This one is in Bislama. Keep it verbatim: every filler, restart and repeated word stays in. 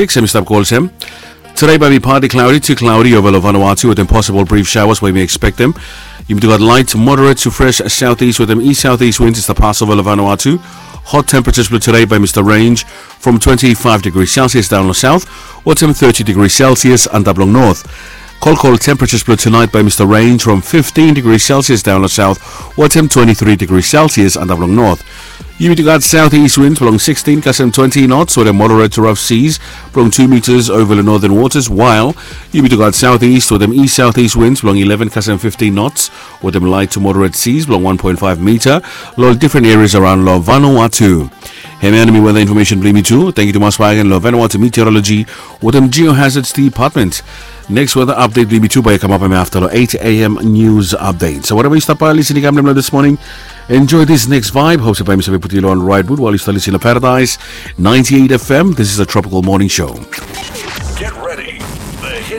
Six em i stap go olsem. Today bae mi partly cloudy to cloudy over long Vanuatu wetem possible brief showers we yumi expectem. Yumi tu gat light to moderate to fresh southeast wetem east southeast winds i stap pas over long Vanuatu. Hot temperatures blong today bae mi stap range from twenty-five degrees Celsius down long south wetem thirty degrees Celsius antap long north. Cold, cold temperatures blong tonight bae mi stap range from fifteen degrees Celsius down long south wetem twenty-three degrees Celsius antap long north. Yumi tu gat southeast winds blong sixteen kasem twenty knots wetem moderate to rough seas blong two meters over long northern waters, while yumi tu gat southeast wetem east southeast winds blong eleven kasem fifteen knots wetem light to moderate seas blong one point five meter long different areas around long Vanuatu. Hemia numi weather information blong yumi tu. Thank you tumas bae gen long Vanuatu Meteorology wetem Geohazards Department. Next weather update blong yumi tu bae i kamapim afta long eight a.m. news update. So whatever yu stap bae lisin i kam long this morning, enjoy this next vibe. Hope se bae mi save putum yu long right mood while yu stap lisin long Paradise ninety-eight F M. This is a Tropical Morning Show. Get ready. The hit